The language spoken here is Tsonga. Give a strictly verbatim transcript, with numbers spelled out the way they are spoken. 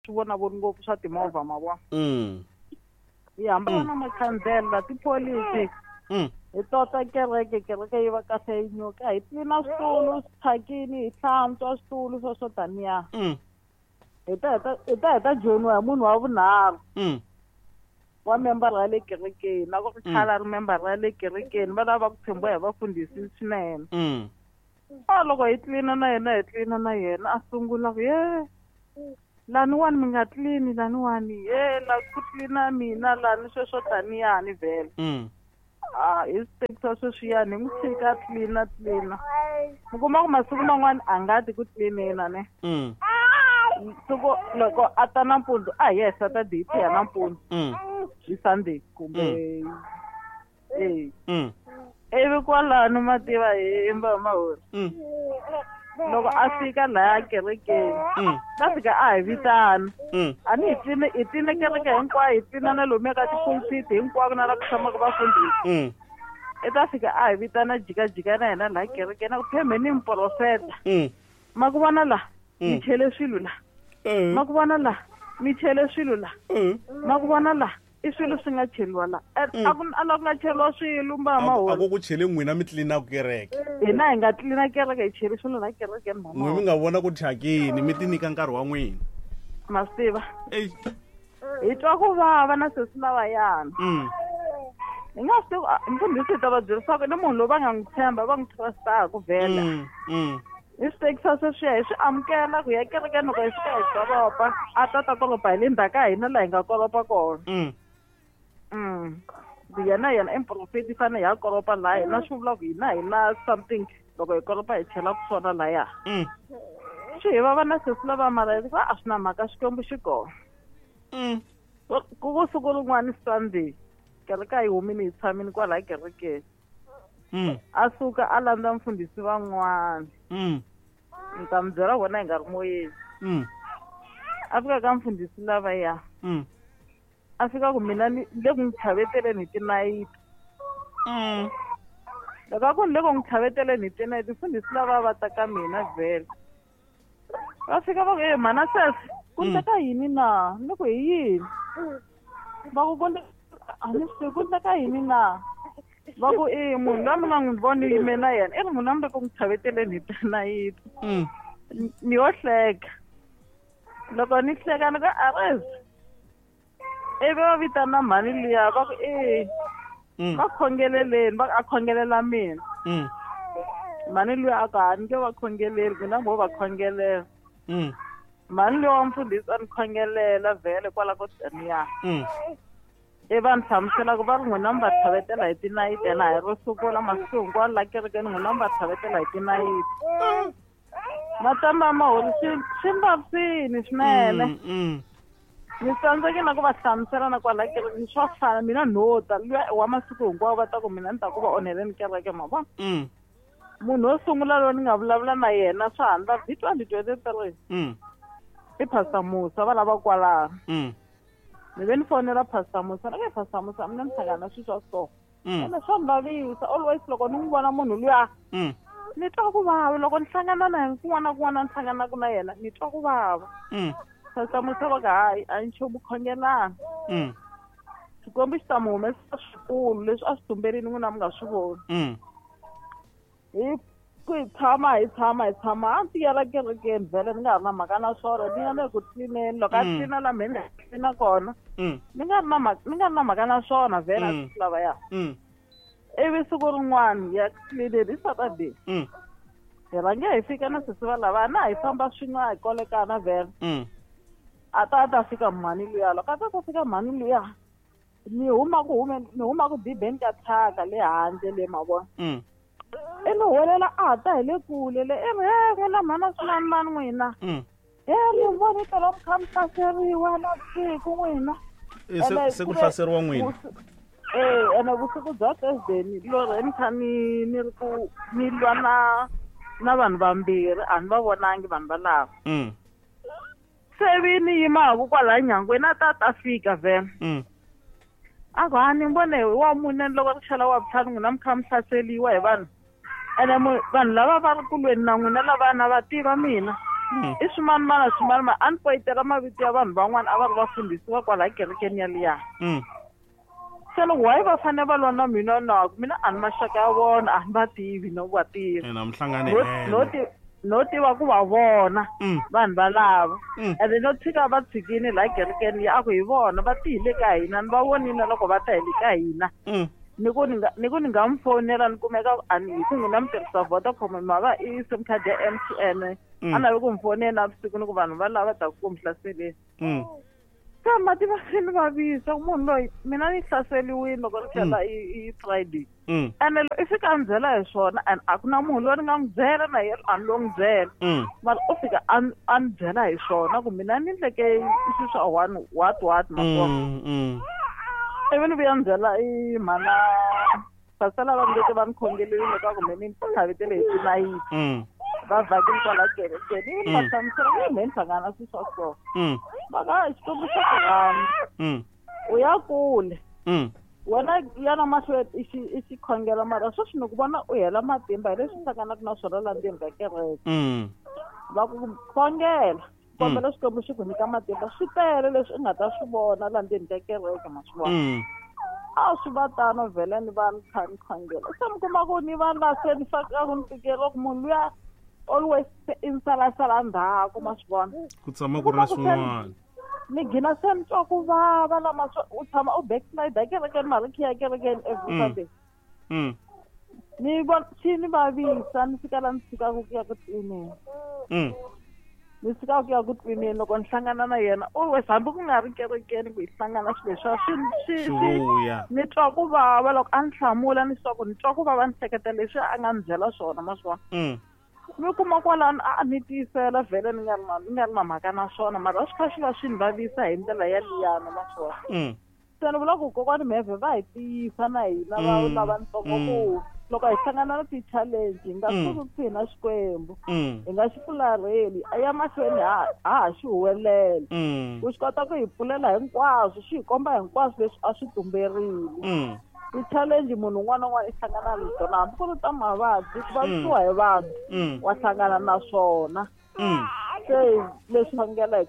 swi vonavoni ngopfu swa timovha ma vona. Mm. Hi hambana na makhandlela tipholisi. Mm. Hi tota kereke kereke yi va kahle yi nyuka hi tlina switulu swi thyakini hi hlantswa switulu swo swo taniya. Mm. Hi ta hi ta hi ta hi ta joyiniwa hi munhu wa vunharhu. Mm. Wa member ya le kerekeni na ku ri khale a ri member ya le kerekeni va lava ku tshembiwa hi vafundhisi swinene. Mm. A loko hi tlina na yena hi tlina na yena a sungula ku ye laniwani mi nga tlini laniwani ye la ku tlina mina lani sweswo taniyani vhele. Mm. A hi swi tekisa sweswiyani hi n'wi tshika tlina tlina mi kuma ku masiku man'wani a nga ti ku tlineni ne. Mm. Siku loko a ta nampundzu a hi yehe Saturday hi ya nampundzu. Mm. Hi Sunday kumbe eh. Mm. Ivi kwalano ma tiva hi Mbamahori. Mm. Loko a fika laya kerekeni. Mm. Ta fika a hi vitana. Mm. A ni hi tline hi tline kereke hinkwayo hi tlina na lomuya ka tipulpit hinkwako na la ku tshamaka vafundhisi. Mm. I ta fika a hi vitana jikajika na hina laha kerekeni a ku phemhe ni muprofeta. Mm. Ma ku vona la Mm. mi chele swilo la. Mm. Ma ku vona la mi chele swilo la. Mm. Ma ku vona la i swilo swi nga cheliwa la. A ku a la ku nga cheliwa swilo Mbamahori. A ku ku chele n'wina mi tlinaka kereke. Hina hi nga tlina kereke hi chele swilo la kerekeni mama. N'wina mi nga vona ku thyakini mi ti nyika nkarhi wa n'wina. Ma swi tiva. Ey. Hi twa ku vava na sesi lavayana. Mm. Hi nga swi tivi mfundhisi hi ta va byerisa ku ni munhu loyi va nga n'wi tshemba va n'wi trust-aku vhele. Mm. Mm. Hi swi tekisa sweswiya hi swi amukela ku ya kerekeni loko hi fika hi kolopa a ta ta kolopa hi le ndzhaku ka hina laha hi nga kolopa kona. Mm. Mm. Yena yena i muprofeti fanele hi ya kolopa laha hina swi vula ku hina hi na something loko hi kolopa hi chelaka swona laya. Mm. Swi hi vava na sesi lava mara hi va a swi na mhaka Xikwembu xi kona. Mm. Ku ku siku rin'wana Sunday kereke a yi humile hi tshamile kwalaya kerekeni. Mm. A suka a landza mfundhisi van'wana. Mm. Ni ta mi byela vona hi nga ri moyeni. Mm. A fika ka mfundhisi lavaya. Mm. A fika ku mina ni le ku n'wi tlhaveteleni hi tinayiti. Mm. Loko a ku ni le ku n'wi tlhaveteleni hi tinayiti mfundhisi lava va ta ka mina vhele. Va fika va ku e mhana sesi ku endleka yini na? Ni ku hi yini? Va ku ku a ni swi tivi ku endleka yini na? Va ku e munhu loyi mi nga n'wi voni yime na yena i ri munhu a mi le ku n'wi tlhaveteleni hi tinayiti. Mm. Ni yo hleka. Loko ni hleka ni ku arezi. Ivi va vitana mhani liya va ku e Mm. va khongeleleni va a khongelela mina. Mm. Mhani luya a ku a ni nge va khongeleli mina mo va khongelela. Mm. Mhani luya wa mfundhisi a ni khongelela vhele kwala ko taniya. Mm. I va ni hlamusela ku va ri n'wina mi va tlhavetela hi tinayiti ene a hi ro sungula masiku hinkwawo la kerekeni n'wina mi va tlhavetela hi tinayiti. Matamba Mahori swi swi ni vavisini swinene. Mm. Mm. Ni tsandzekile na ku va hlamusela na kwala kerekeni swa fana mina no ta luya wa masiku hinkwawo va ta ku mina ni ta ku va onheleni kereke ma vona. Mm. Munhu wo sungula loyi ni nga vulavula na yena swa ha ndla hi twenty twenty three. Mm. I Pastor Musa va lava kwalano. Mm. Ni ve ni fonela Pastor Musa ni ku Pastor Musa mina ni hlangana na swilo swa so. Mm. Ene swa ni vavisa always loko ni n'wi vona munhu luya Mm. ni twa ku vava loko ni hlangana na yena kun'wana na kun'wana ni hlanganaka na yena ni twa ku vava. Mm. Pastor Musa va ku hayi a nchumu khongelana. Mm. Xikwembu xi ta mi humesa swikulu leswi a swi tumberile n'wina mi nga swi voni. Mm. Hi ku hi tshama hi tshama hi tshama a ndzi tiyela kerekeni vhele ni nga ha ri na mhaka na swona ni ya le ku tlineni loko a Mm. tlina la mehe ni nga tlina kona Mm. ni nga ri na mhaka ni nga ri na mhaka na swona vhele a Mm. swi lavaya. Mm. Ivi siku rin'wana hi ya tlineni hi Saturday. Mm. Hi rhange hi fika na sesi va lava na hi famba swin'we a hi kolekana vhele. Mm. A ta a ta fika mhani luya loko a ta ta fika mhani luya ni huma ku hume ni huma ku dibeni ka thyaka le handle le ma vona. Mm. I ni huwelela a ta hi le kule le i ri he n'wina mhana swinanimani n'wina. Mm. He ni voni tolo mi kha mi hlaseriwa navusiku n'wina. E se se ku hlaseriwa n'wina. Eh ene vusiku bya Thursday ni lorhe ni kha ni ni ri ku ni lwa na na vanhu vambirhi a ni va vonangi vanhu valava. Mm. Se vi ni yimaku kwalaya nyangweni a ta ta fika vhele. Mm. A ku ha ni vone wa mune loko ri chela wa vutlhanu n'wina mi kha mi hlaseriwa hi vanhu. Ene vanhu lava va ri kulweni na n'wina lavana va tiva mina. I swimanimana swimanimana a ni poyitela mavito ya vanhu van'wana a va ri vafundhisi va kwalaya kerekeni yaliya. Se loko why va fanele va lwa na mina na mina a ni maxaka ya vona a ni va tivi no va tivi. Ina mhlangane no no tiva ku va vona vanhu valava ende no tshika va tshikini laha kerekeni ya a ku hi vona va tihile ka hina ni va vonile loko va ta hi le ka hina. Ni ku ni nga ni ku ni nga mi fonela ni kumeka a ni hi ku n'wina mi tirhisa Vodacom ma va i sim card ya M T N a navi ku mi fonela navusiku ni ku vanhu va lava ta ku mi hlaseleni. Se mati va swi ni vavisa munhu loyi mina ni hlaseliwile loko ri tlhela i Friday. Ene i fika a ni byela hi swona and a ku na munhu loyi ni nga n'wi byela na yena a ni lo n'wi byela. Mara u fika a a ni byela hi swona ku mina ni endleke swilo swa one what what ma vona. Ivi ni vuya ni byela i mhana pasela va ndzi va ni khongelile ka ku mina ni tlhavetele hi tinayiti. Va vhakile kwala kerekeni ivi ni va hlamusela ku me ni hlangana swilo swa so. Va ka Xikwembu xa ku rhandza. U ya kule. Wena yana mahlweni i xi i xi khongela mara sweswi ni ku vona u hela matimba hi leswi hlanganaka na swona laha ndzeni ka kereke. Va ku khongela kombela Xikwembu xi ku nyika matimba swi tele leswi u nga ta swi vona laha ndzeni ka kereke ma swi vona. A swi va tano vhele ni va ni kha ni khongela. Se mi kuma ku ni vanhu va se ni faka ku ni tikela ku munhu luya always i salasala ndzhaku ma swi vona. Ku tshama ku ri na swin'wana. Ni gina se ni twa ku vava lama u tshama u backslide kerekeni mara khiya kerekeni every Sunday. Ni vona xi ni vavisa ni fika la ni tshikaka ku ya ku tlineni. Ni tshikaka ku ya ku tlineni loko ni hlangana na yena always hambi ku nga ri kerekeni ku hi hlangana swilo leswiya swi swi ni twa ku vava loko a ni hlamula ni swa ku ni twa ku vava ni hleketa leswi a nga ni byela swona ma swi vona. Mi kuma kwalano a ni tiyisela vhele ni nga ri na ni nga ri na mhaka na swona mara swi kha swi va swi ni vavisa hi ndlela yaliyana ma swi vona. Se ni vula ku kokwani Mheve va hi tiyisa na hina va lavatsongo ku loko hi hlangana na ti-challenge hi nga suki na Xikwembu hi nga xi fularheli a ya mahlweni ha ha xi huwelela ku xi kota ku hi pfulela hinkwaswo xi hi komba hinkwaswo leswi a swi tumberile. Ti-challenge munhu un'wana na un'wana i hlangana na tona hambi ku ri ta mavabyi ku vavisiwa hi vanhu wa hlangana na swona. Se leswi khongela hi